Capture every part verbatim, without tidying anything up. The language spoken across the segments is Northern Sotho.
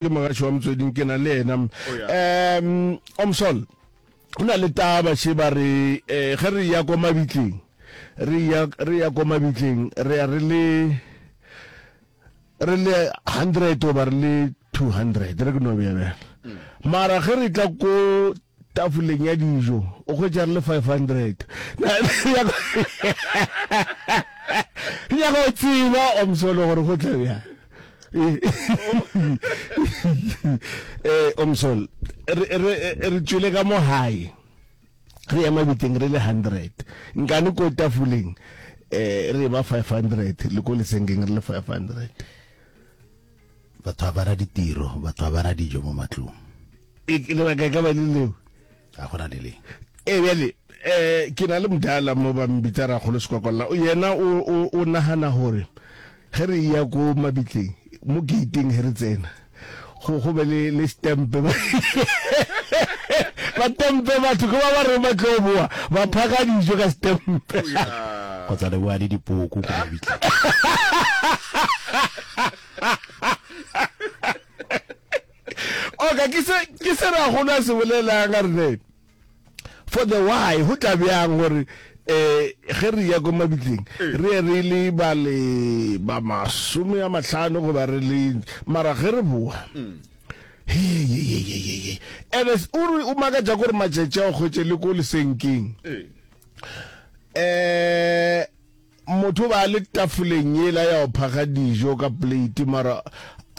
Ke mogaši wa Motsweding, ke na le yena. Um Omsol, go na le taba še ba re eh, ge re ya ko mabitleng, re ya re ya ko mabitleng, re ya re le re le hundred goba re le two hundred, re ke no bea bjalo. Mara ge re tla ko tafoleng ya dijo, o hwetša re le five hundred. Ke nyaka go tseba Omsol gore go tla bjang. Eh, Omsol, re re re tšwele ka mo gae re ya mabiteng re le hundred, nkane ko tafoleng eh re ba five hundred le ko lesenkeng re le five hundred. Batho ba bara ditiro, batho ba bara dijo mo matlong. E lebaka e ka ba le leo. Ga gona le leng. E bjale eh ke na le mdala mo ba mbitsa Rakgolo Sekwakwalla, yena o o o nagana gore ge re ya ko mabitleng mo gateeng ge re tsena go go be le le stempe ba tempe batho ke ba ba re ba tlo boa ba phaka dijo ka stempe kgotsa le boa le dipoko ko mabitleng. Oka ke se ke se Rakgolo a se bolelang a re ne for the why go tla bjang gore eh ge re ya ko mabitleng re ye re le ba le ba masome a mahlano goba re le mara ge re boa he ye ye ye ye ye ene o re o makatša gore matšatši a o kgwetše le ko lesenkeng eh motho ba le tafoleng yela ya go phaka dijo ka plate mara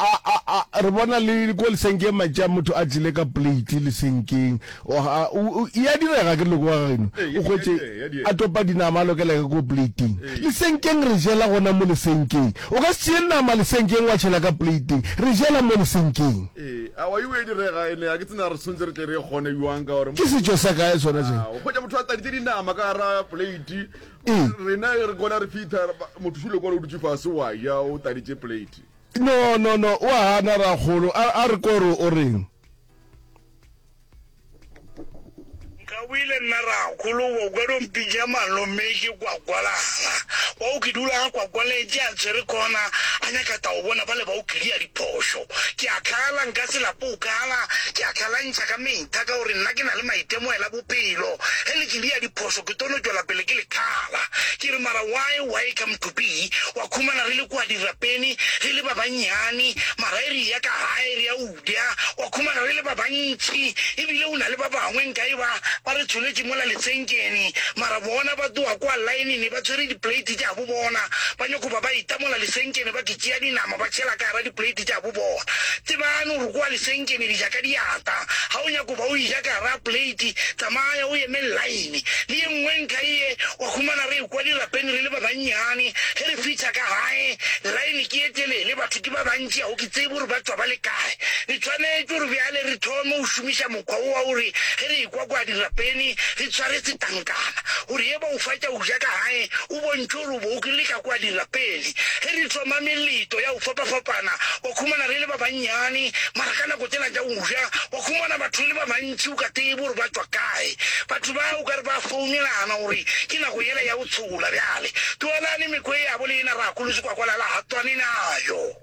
a a a re bona le ko lesenkeng matša motho a tlile ka plate lesenkeng ya direga ke loko wa geno o hwetše a topa dinama a lokela ka ko plateng lesenkeng re jela gona mo lesenkeng o ka se tšee nama lesenkeng wa tšhela ka plateng re jela mo lesenkeng. Ee, awa e e direga ene a ke tsena re tshwanetse re tle re kgone bjang ka gore ke setšo sa kae sona se o hwetša motho a tladitše dinama ka gara plate rena re kona re fitha motho šule kwana o dutše fase wa ja o tladitše plate. No no no o a gana Rakgolo a re kore o reng. Nka boile nna Rakgolo o ka no mpitša malome ke kwakwalala wa o ke dula ga kwakwaletše a tshwere khona a nyaka tao bona ba le ba o kria diphošo ke a khala nka se lape o khala ke a khalantšha ka metha ka gore nna ke na le maitemogela bophelo ge le kria diphošo ke tono tšwela pele ke le khala ke re mara why why come to be wa khumana re le kwa dirapeni re le ba bannyane mara e re ya ka gae re ya udia wa khumana re le ba bantši ebile o na le ba bangwe nka e ba ba re tsholetše mola lesenkeng mara bona ba tloga kwa lineng ba tshwere diplate tša bo bona ba nyako ba ba itamola lesenkeng ba ke tšea dinama ba tšhela ka gara diplate tša bo bona tsebane gore kwa lesenkeng di ja ka diata ga o nyako ba o ija ka gara plate tsamaya o eme line le ye nngwe ntlha ye wa khumana re kwa dirapeng re le ba bannyane ge re fitlha ka gae line ke e telele batho ke ba bantši ga o ke tsebe gore ba tswa ba le kae re tshwanetse gore bjale re thome go šomiša mokgwa o wa gore ge re ekwa kwa dirapeng re tshware setankana gore ye ba o fatša o ja ka gae o bontšhe gore o bo o krile ka kwa dirapeng ge re thoma meleto ya go fapafapana wa khumana re le ba bannyane mara ka nako tsela tša go ja wa khumana batho le ba bantši o ka tsebe gore ba tswa kae batho ba o ka re ba founelana gore ke nako yela ya go tshola bjale tloelane mekgwa e yabo le ena Rakgolo Sekwakwalala ga tswane nayo.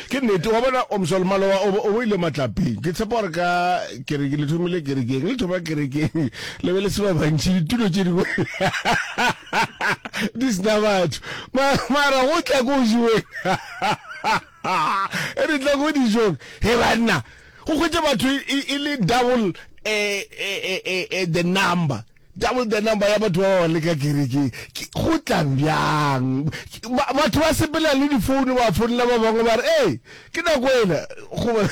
Ke nnete wa bona Omsol maloba o bo ile matlapeng ke tshepa gore ka kereke le thomile kerekeng le thoma kerekeng le be le se ba bantši ditulo tše dingwe di sena batho mara go tla ko jeweng e re tla ko dijong he banna go hwetša batho e le double the number double the number ya batho ba ba le ka kerekeng go tla bjang batho ba sepela le difounu ba founela ba bangwe ba re ee ke nako ena goba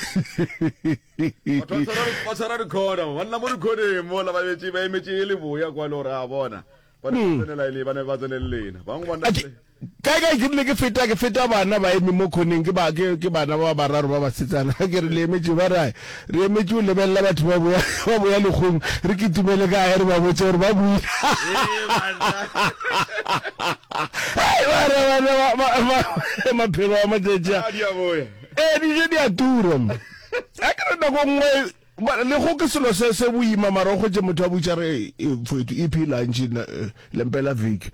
ba tshwara dikhona banna mo dikhoneng mola ba betše ba emetše e le boya kwa le gore a bona ba ne ba tsenela e le ba ne ba tsene le lena bangwe ba nna kae kae ke rile ke feta ke feta bana ba eme mo khoneng ke ba ke ke bana ba bararo ba basetsana ke re le emetše ba rae re emetše o lebelela batho ba boya ba boya lekgong re kitimele kae re ba botse gore ba buile bana bana maphelo a matšatši a ee dijo di a tura a ke re nako nngwe le go ke selo se se boima mara o kgwetše motho a botša re mfowethu e phi lunch lempela veke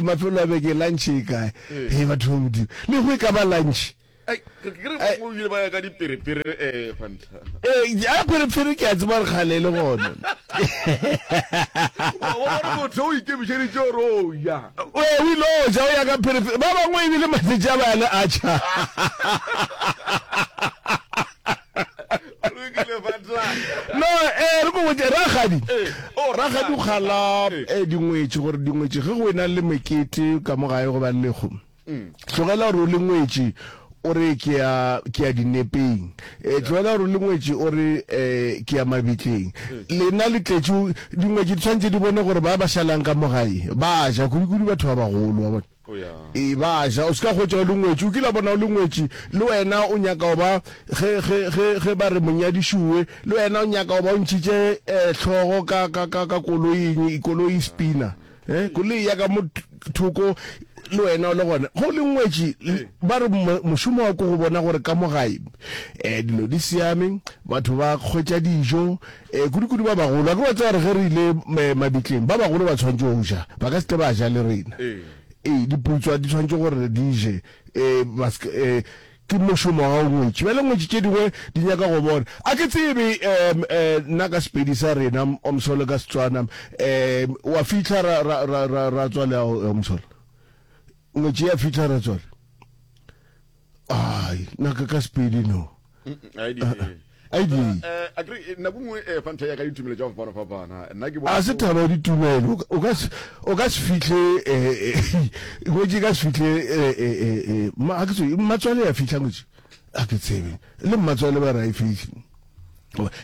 mafelo a beke lunch e kae he batho ba modimo le go e ka ba lunch Ai, ke ke re ba bangwe ebile ba ya ka diperepere eh Fanta. Ee, ya pherefere ke a tseba re kgale e le gona. Wa bona motho o ikemišeditše gore o ja. Ee, o ile o ja o ya ka pherefere. Ba bangwe ebile matšatši a ba ya le atšha. Lokile Fanta. No, eh, re ko botše, rakgadi. Eh, oh, Rakgadi o kgala eh, dingwetši gore dingwetši ge go ena le mekete ka mo gae goba lehu. Tlogela gore o le ngwetši o re ke ya ke ya dinepeng. E, tlogela gore o le ngwetši o re e, ke ya mabitleng. Lena le tletše dingwetši di tshwanetse di bone gore ba ba šalang ka mo gae ba ja, kudu-kudu batho ba bagolo, wa bona. E, ba ja. O se ka hwetša o le ngwetši, o kile wa bona o le ngwetši le wena o nyaka go ba ge ge ge ge ba re monyadišuwe, le wena o nyaka go ba o ntšhitše e, hlogo ka ka ka ka koloing, koloi e spina. Eh, koloi ya ka mo thoko le wena o le gona. Go le ngwetši ba re mošomo wa ko go bona gore ka mo gae eh dilo di siame, batho ba hwetša dijo, eh kudu-kudu ba bagolo. A ke wa tseba gore ge re ile mabitleng ba bagolo ba tshwanetše go ja, ba ka se tle ba ja le rena. Ee, diputswa di tshwanetše gore di je, eh ba se eh Ke mošomo wa gago ngwetši. Bjale ngwetši tše dingwe di nyaka go bona. A ke tsebe um nna ka Sepedi sa rena, Omsolo ka Setswana, um wa fihla ra, ra, ra, ra, ra tswale Omsolo. Ngwetši ya fihla ra tswale. Ai, nna ka ka Sepedi no. A di. A kere nako nngwe eh, fanta ya ka ditumelo tša go fapana-fapana. Nna ke bona. A se taba ya ditumelo. O ka se o ka se fihle eh, ngwetši e ka se fihle eh, eh, eh, ma, ga ke tsebe, mmatswale ya fihla ngwetši? Ga ke tsebe. Le mmatswale ba re ga e fihle.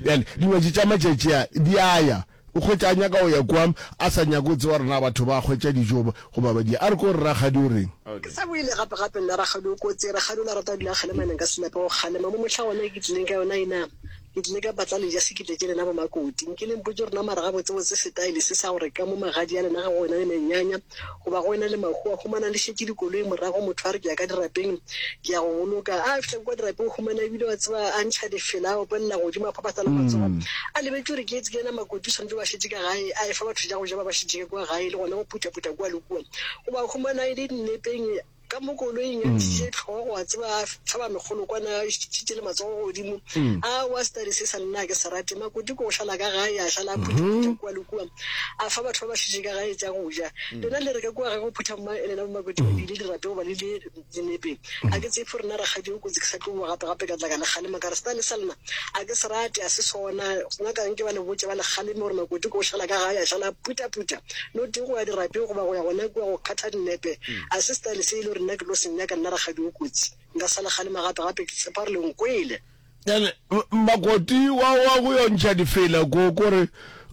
Bjale dingwetši tša matšatši a di a ya. O hwetša a nyaka go ya kwa, a sa nyake go tseba gore na batho ba hwetša dijo goba ba di. A re ko re rakgadi o reng? Ke sa boile gape gape nna rakgadi o kotsi. Rakgadi o la rata go dula a kgalema nka se nape go kgalema. Mo mohla gona e ke tlileng ka yona ena, ke tlile ka patla le ja se ke tletše lena bo Makoti. Nke le mpotše gore na mara gabotsebotse setaele se sa gore ka mo magadi a lena ga go ena le menyanya goba go ena le mahu a humana le šetše dikoloi morago motho a re ke ya ka dirapeng ke ya go boloka a fihla kwa dirapeng o humana ebile wa tseba a ntšha difela a opelela godimo a phaphatha le matsogo a lebetše gore ke etse ke yena makoti o swanetše ba šetše ka gae a efa batho tša go ja ba ba šetše ka kua gae le gona go phuthaphutha kua le kua goba humana e le dinepeng Ka mo koloing a ntšhitše hlogo, a tseba a hlaba mekgolokwana a šitšitše le matsogo godimo. Aowa, setadi se sa nna ga ke se rate. Makoti ke go šala ka gae, a šala a phuthaphutha kua le kua, a fa batho ba ba šetše ka gae tša go ja. Lena le re ka kua gae go phutha mma, lena bo Makoti ba le ile dirape goba le ile dinepe. Ga ke tsebe gore na rakgadi o kotsi ke sa tlo boa gape gape ka tla ka le kgalema ka re setadi sa lena ga ke se rate, ga se sona. Nna ka nke ba le botše ba le kgaleme gore Makoti ke go šala ka gae, a šala a phuthaphutha, no tee go ya dirapeng goba go ya gona kua go kgatha dinepe. A se style se e le gore nna ke tlo se nyaka nna rakgadi o kotsi. Nka sa le kgalema gape gape ke tshepa gore le nkwele. Bjale makoti wa wa go yo ntšha difela ko ko re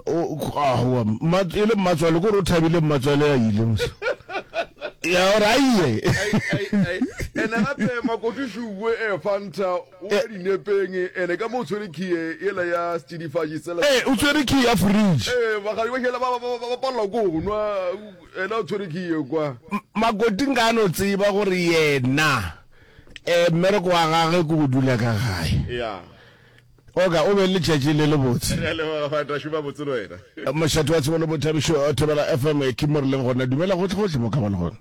aowa mma e le mmatswale ko re o thabile mmatswale a ile mos ya gore a iye. Ene gape makoti šuwe e fanta o ya dinepeng ene ka mo o tshwere khiye yela ya setsidifatši sela. Ee o tshwere khiye ya fridge. Ee bagadi ba šela ba ba ba palelwa ko nwa Yena o tshwere ke ye kwa. Makoti nka no tseba gore yena eh mmereko wa gagwe ke go dula ka gae. Ya. Oka, o be le letšatši le lebotse. Re a leboga Fata, šoma botse le wena. Mošate wa tsebo le boithabišo, Thobela F M, ke mo re leng gona. Dumela gohle gohle mo ka ba le gona.